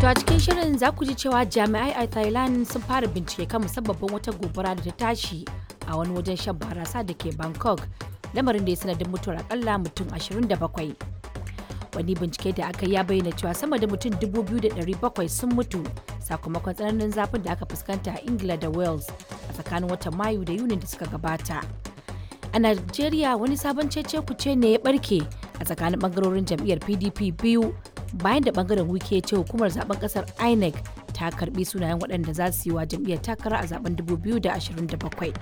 To a cikin shirin za ku ji cewa jami'ai a Thailand sun fara bincike kan musabbabin wata gobara da ta tashi a wani wajen shan barasa da ke Bangkok, lamarin da ya sanadin mutuwar akalla mutum 27. Wani bincike da aka yi ya bayyana cewa sama da mutum 2,700 sun mutu sakamakon tsananin zafin da aka fuskanta a Ingila da Wales a tsakanin watan Mayu da Yunin da suka gabata. A Najeriya, wani sabon cece kuce ne ya barke a tsakanin bangarorin jam'iyyar PDP biyu bayan da bangaren Wike ya ce hukumar zaben kasar INEC ta karbi sunayen waɗanda za su yi wa jam'iyyar takara a zaben 2027.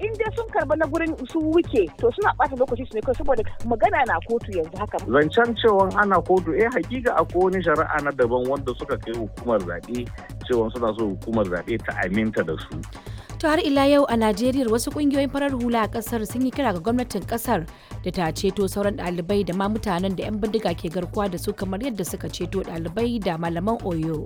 In dai sun karba na gurin su Wuke, to suna bata lokaci su ne kawai, saboda magana na kotu yanzu haka. Zancen cewa ana kotu, eh, hakika akwai wani shari'a na daban wanda suka kai hukumar zaɓe cewa suna so hukumar zaɓe ta aminta da su. To har ila yau a Najeriya, wasu kungiyoyin farar hula a kasar sun yi kira ga gwamnatin kasar da ta ceto sauran ɗalibai da ma mutanen da 'yan bindiga ke garkuwa da su kamar yadda suka ceto ɗalibai da malaman Oyo.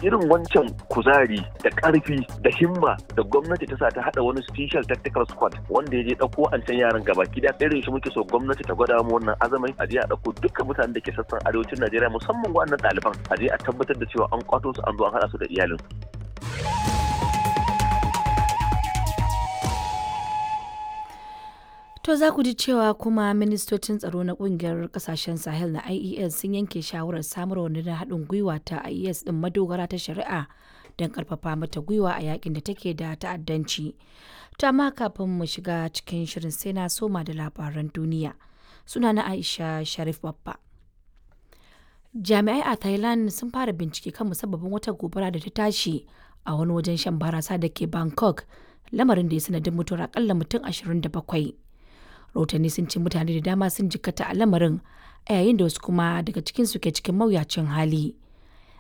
Irin wancan kuzari da ƙarfi da himma da gwamnati ta sa ta haɗa wani special tactical squad wanda ya je ɗauko an yaran gaba gida, irin shi muke so gwamnati ta gwada mu wannan azamin, a je a ɗauko dukkan mutanen da ke sassan arewacin Najeriya, musamman waɗannan ɗaliban, a je a tabbatar da cewa an kwato su, an zo an haɗa su da iyalin. To za ku ji cewa kuma ministocin tsaro na kungiyar kasashen Sahel na IES sun yanke shawarar samar wa rundunar haɗin gwiwa ta IES ɗin madogara ta shari'a don karfafa mata gwiwa a yakin da take da ta'addanci. To amma kafin mu shiga cikin shirin, sai na soma da labaran duniya. Suna na Aisha Sharif Babba. Jami'ai a Thailand sun fara bincike kan musabbabin wata gobara da ta tashi a wani wajen shan barasa da ke Bangkok, lamarin da ya sanadin mutuwar akalla mutum 27. Rahotanni sun ce mutane da dama sun jikkata a lamarin, a yayin da wasu kuma daga cikin su ke cikin mawuyacin hali.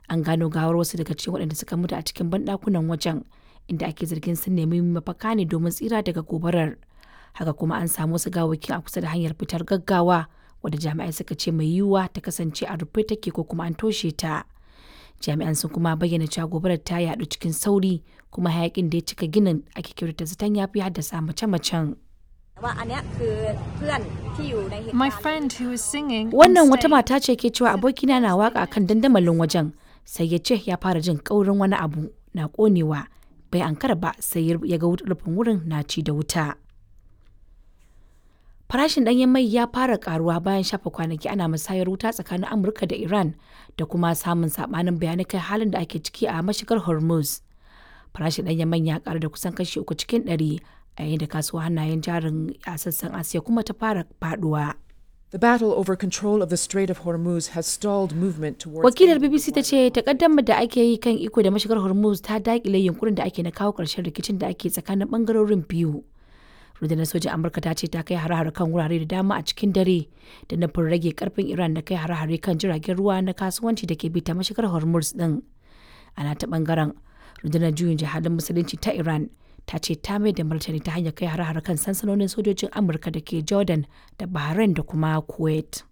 An gano gawar wasu daga cikin waɗanda suka mutu a cikin banɗakunan wajen, inda ake zargin sun nemi mafaka ne domin tsira daga gobarar. Haka kuma an samu wasu gawakin a kusa da hanyar fitar gaggawa, wadda jami'ai suka ce mai yiwuwa ta kasance a rufe take ko kuma an toshe ta. Jami'an sun kuma bayyana cewa gobarar ta yaɗu cikin sauri, kuma hayakin da ya cika ginin ake kyautata zaton ya fi haddasa mace-macen. My friend who was singing on Wannan wata stage. mata ce ke cewa abokina na waka kan dandamalin wajen, sai ya ce ya fara jin kaurin wani abu na konewa, bai ankara ba sai ya ga rufin wurin na ci da wuta. Farashin ɗanyen mai ya fara karuwa bayan shafa kwanaki ana musayar wuta tsakanin Amurka da Iran da kuma samun sabanin bayanai kai halin da ake ciki a mashigar Hormuz. Farashin ɗanyen man ya karu da kusan kashi 3% a yayin da kasuwa hannayen jarin a sassan Asiya kuma ta fara faduwa. The battle over control of the Strait of Hormuz has stalled movement towards. Wakilar BBC ta ce takaddamar da ake yi kan iko da mashigar Hormuz ta dakile yunkurin da ake na kawo ƙarshen rikicin da ake tsakanin bangarorin biyu. Rundunar sojin Amurka ta ce ta kai hare-hare kan wurare da dama a cikin dare da nufin rage karfin Iran da kai hare-hare kan jiragen ruwa na kasuwanci da ke bi ta mashigar Hormuz din. Ana ta bangaren rundunar juyin jihadin musulunci ta Iran ta ce ta mai da martani ta hanyar kai hare-hare kan sansanonin sojojin Amurka da ke Jordan da Bahrain da kuma Kuwait.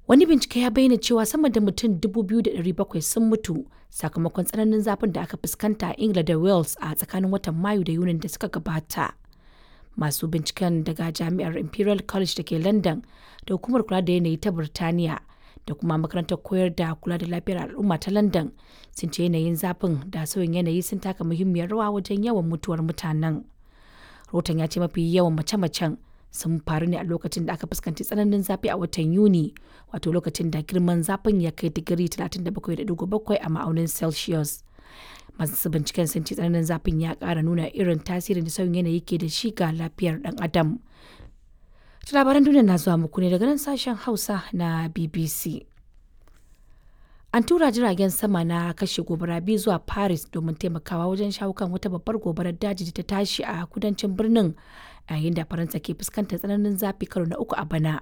Wani bincike ya bayyana cewa sama da mutum 2,700 sun mutu sakamakon tsananin zafin da aka fuskanta a Ingila da Wales a tsakanin watan Mayu da Yunin da suka gabata. Masu binciken daga Jami'ar Imperial College da ke London da Hukumar Kula da Yanayi ta Birtaniya da kuma Makarantar Koyar da Kula da Lafiyar Al'umma ta London sun ce yanayin zafin da sauyin yanayi sun taka muhimmiyar rawa wajen yawan mutuwar mutanen. Rahoton ya ce mafi yawan mace-macen sun faru ne a lokacin da aka fuskanci tsananin zafi a watan Yuni, wato lokacin da girman zafin ya kai digiri 37.7 a ma'aunin Celsius. Masu binciken sun ce tsananin zafin ya ƙara nuna irin tasirin da sauyin yanayi ke da shi ga lafiyar ɗan adam. Ta labaran duniya na zuwa muku ne daga nan sashen Hausa na BBC. An tura jiragen sama na kashe gobara biyu zuwa Paris domin taimakawa wajen shawo kan wata babbar gobarar daji da ta tashi a kudancin birnin, a yayin da Faransa ke fuskantar tsananin zafi karo na uku a bana.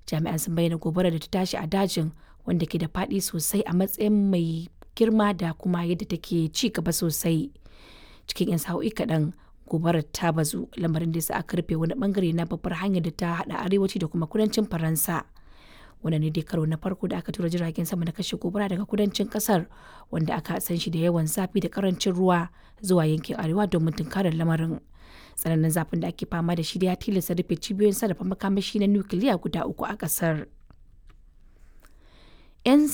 Jami'an sun bayyana gobarar da ta tashi a dajin wanda ke da faɗi sosai a matsayin mai girma da kuma yadda take ci gaba sosai. Cikin 'yan sa'o'i kaɗan gobarar ta bazu, lamarin da ya sa aka rufe wani bangare na babbar hanyar da ta haɗa arewaci da kuma kudancin Faransa. Wannan ne dai karo na farko da aka tura jiragen sama na kashe gobara daga kudancin kasar, wanda aka san shi da yawan zafi da karancin ruwa, zuwa yankin arewa domin tunkarar lamarin. Tsananin zafin da ake fama da shi da ya tilasta rufe cibiyoyin sarrafa makamashi na nukiliya guda uku a kasar. 'Yan